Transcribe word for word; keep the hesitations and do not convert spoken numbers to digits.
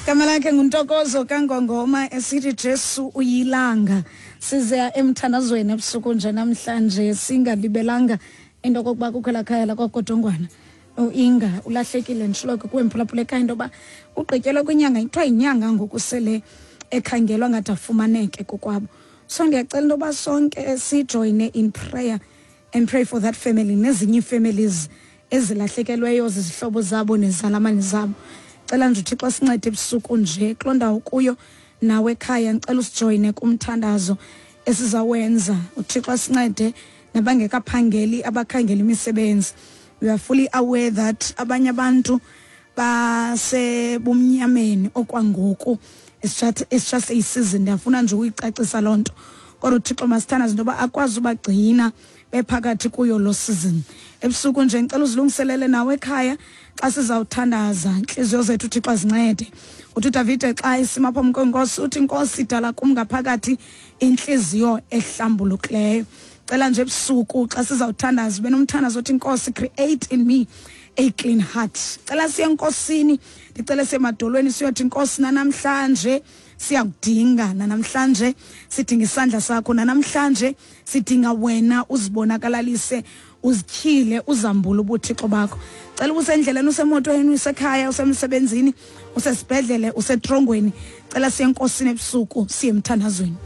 Igama lakhe nguNtokozo kaNgongoma esithi Jesu uyilanga. Size emthandazweni ebusuku nje namhlanje, singalibelanga into okokuba kukho elaa khaya lakwaGodongwana. UInga ulahlekile, nditshilo ke kuwe mphulaphula ekhaya into yoba ugqityelwe kwinyanga, kuthiwa yinyanga ngoku sele ekhangelwa ngathi afumaneke kokwabo. So ndiyacela into yoba sonke sijoyine in prayer and pray for that family nezinye ii-families ezilahlekelweyo zizihlobo zabo nezalamane zabo. Cela nje uThixo asincede ebusuku nje kuloo ndawo kuyo nawe ekhaya, ndicela usijoyine kumthandazo esizawenza. UThixo asincede nabangekaphangeli, abakhangela imisebenzi. We are fully aware that abanye abantu basebumnyameni okwangoku. It's just, it's just a season. Ndiyafuna nje ukuyicacisa loo nto, kodwa uThixo masithandaze into yoba akwazi ubagcina bephakathi kuyo lo season. Ebusuku nje ndicela uzilungiselele nawe ekhaya xa sizawuthandaza, intliziyo zethu uThixo azincede. Uthi uDavide xa esima phambi kwenkosi, uthi, "Nkosi, dala kum ngaphakathi intliziyo ehlambulukileyo." Cela nje ebusuku xa sizawuthandaza ube nomthandazo othi, "Nkosi, create in me a clean heart." Cela siye enkosini, ndicele siye emadolweni siyothi, "Nkosi, nanamhlanje siyakudinga, nanamhlanje sidinga isandla sakho, nanamhlanje sidinga wena uzibonakalalise, uzityhile, uzambule ubuthixo bakho." Cela usendleleni, usemotweni, usekhaya, usemsebenzini, usesibhedlele, usetrongweni, cela siye enkosini ebusuku, siye emthandazweni.